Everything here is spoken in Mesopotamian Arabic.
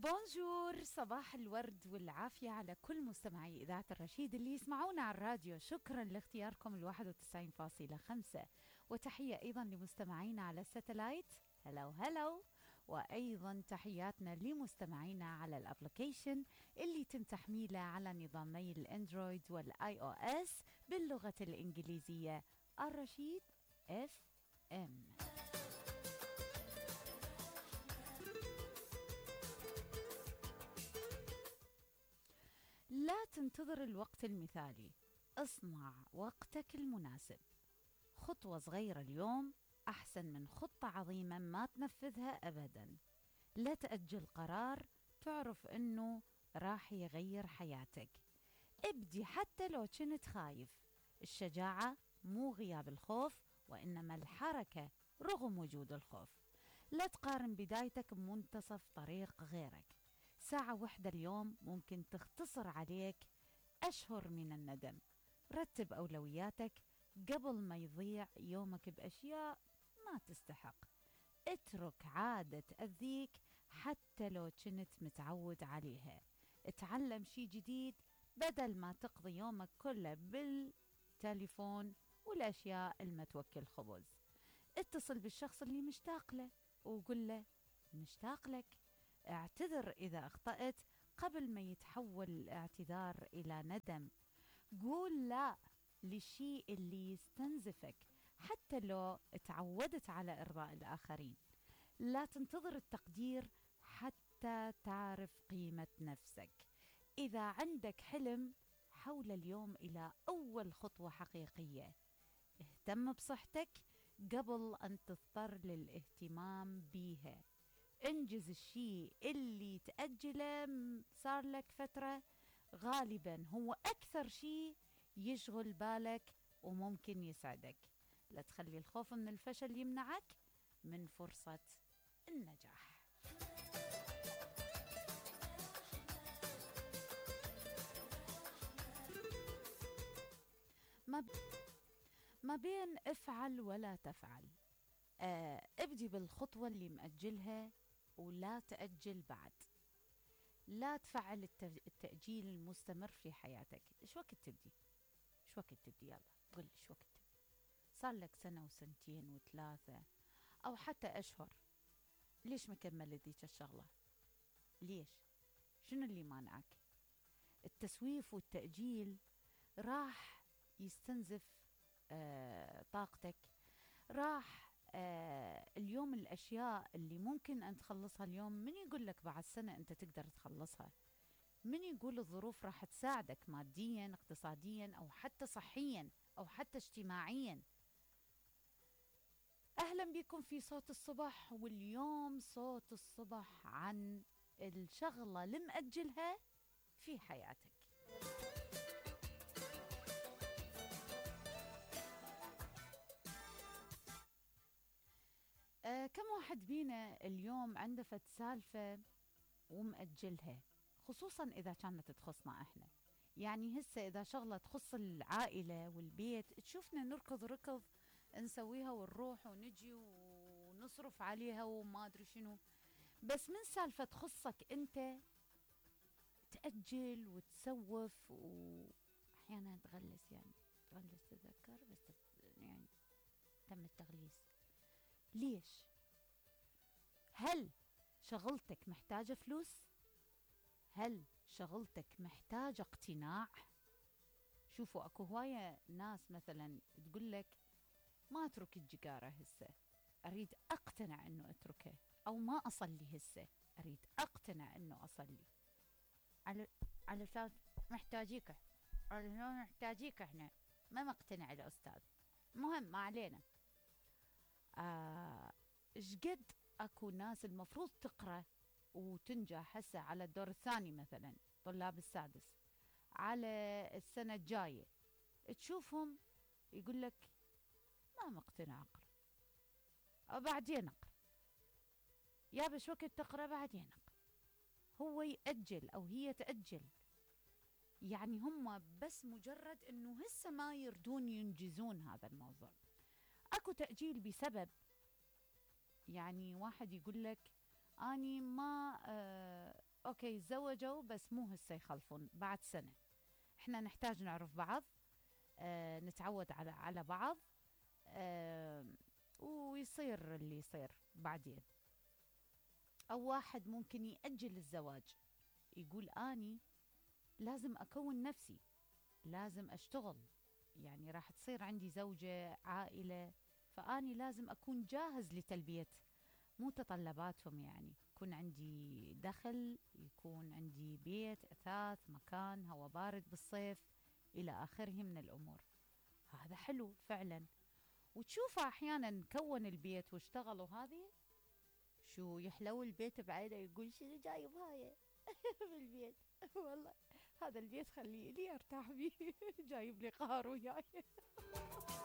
بونجور، صباح الورد والعافية على كل مستمعي إذاعة الرشيد اللي يسمعونا على الراديو. شكرا لاختياركم 91.5، وتحية أيضا لمستمعينا على الساتلايت. هلو هلو. وأيضا تحياتنا لمستمعينا على الابليكيشن اللي تم تحميله على نظامي الأندرويد والآي أو إس باللغة الإنجليزية، الرشيد اف ام. لا تنتظر الوقت المثالي، اصنع وقتك المناسب. خطوة صغيرة اليوم أحسن من خطة عظيمة ما تنفذها أبدا. لا تأجل قرار تعرف أنه راح يغير حياتك. ابدي حتى لو كنت خايف. الشجاعة مو غياب الخوف، وإنما الحركة رغم وجود الخوف. لا تقارن بدايتك بمنتصف طريق غيرك. ساعة واحدة اليوم ممكن تختصر عليك أشهر من الندم. رتب أولوياتك قبل ما يضيع يومك بأشياء ما تستحق. اترك عادة تأذيك حتى لو كنت متعود عليها. اتعلم شي جديد بدل ما تقضي يومك كله بالتليفون والأشياء المتوكل خبز. اتصل بالشخص اللي مشتاق له وقل له مشتاق لك. اعتذر إذا أخطأت قبل ما يتحول الاعتذار إلى ندم. قول لا للشيء اللي يستنزفك حتى لو تعودت على إرضاء الآخرين. لا تنتظر التقدير حتى تعرف قيمة نفسك. إذا عندك حلم حول اليوم إلى أول خطوة حقيقية. اهتم بصحتك قبل أن تضطر للاهتمام بيها. انجز الشيء اللي تأجله صار لك فترة، غالبا هو أكثر شيء يشغل بالك وممكن يسعدك. لا تخلي الخوف من الفشل يمنعك من فرصة النجاح. ما بين افعل ولا تفعل. ابدي بالخطوة اللي مأجلها ولا تأجل بعد. لا تفعل التأجيل المستمر في حياتك. ايش وقت تبدي؟ ايش وقت تبدي؟ يلا قل ايش وقت تبدي. صار لك سنة وسنتين وثلاثة أو حتى أشهر، ليش ما كملت ديك الشغلة؟ ليش؟ شنو اللي مانعك؟ التسويف والتأجيل راح يستنزف طاقتك. راح اليوم الأشياء اللي ممكن أن تخلصها اليوم، من يقول لك بعد سنة أنت تقدر تخلصها؟ من يقول الظروف راح تساعدك ماديا اقتصاديا أو حتى صحيا أو حتى اجتماعيا؟ أهلا بكم في صوت الصبح. واليوم صوت الصبح عن الشغلة اللي مأجلها في حياتك. كم واحد بينا اليوم عنده فد سالفة ومأجلها، خصوصا إذا كانت تخصنا إحنا. يعني هسه إذا شغلة تخص العائلة والبيت تشوفنا نركض ركض نسويها ونروح ونجي ونصرف عليها وما أدري شنو. بس من سالفة تخصك أنت تأجل وتسوف وأحيانا تغلس. يعني تغلس تذكر بس يعني تم التغليس. ليش؟ هل شغلتك محتاجة فلوس؟ هل شغلتك محتاجة اقتناع؟ شوفوا اكو هواية ناس مثلا تقول لك ما اترك الجقارة هسه، اريد اقتنع انه اتركه. او ما اصلي هسه، اريد اقتنع انه اصلي. على اساس محتاجيك، على اساس محتاجيك احنا. ما مقتنع الاستاذ. مهم ما علينا. شقد اكو ناس المفروض تقرأ وتنجح هسه على الدور الثاني، مثلا طلاب السادس، على السنة الجاية تشوفهم يقول لك ما مقتنع اقرأ او بعدين اقرأ. يا بش وقت تقرأ بعدين اقرأ. هو يأجل او هي تأجل. يعني هم بس مجرد انه هسه ما يردون ينجزون هذا الموضوع. اكو تأجيل بسبب، يعني واحد يقول لك اني ما اوكي تزوجوا بس مو هسه يخلفون، بعد سنة. احنا نحتاج نعرف بعض، نتعود على بعض، آه ويصير اللي يصير بعدين. او واحد ممكن يأجل الزواج، يقول اني لازم اكون نفسي، لازم اشتغل، يعني راح تصير عندي زوجة عائلة، فاني لازم اكون جاهز لتلبية متطلباتهم، يعني يكون عندي دخل، يكون عندي بيت، اثاث، مكان، هواء بارد بالصيف، الى اخره من الامور. هذا حلو فعلا. وتشوفه احيانا كون البيت واشتغل وهذه، شو يحلو البيت بعينه، يقول شنو جايب هاي بالبيت. والله هذا البيت خليه لي ارتاح بيه جايب لي قهر وياي.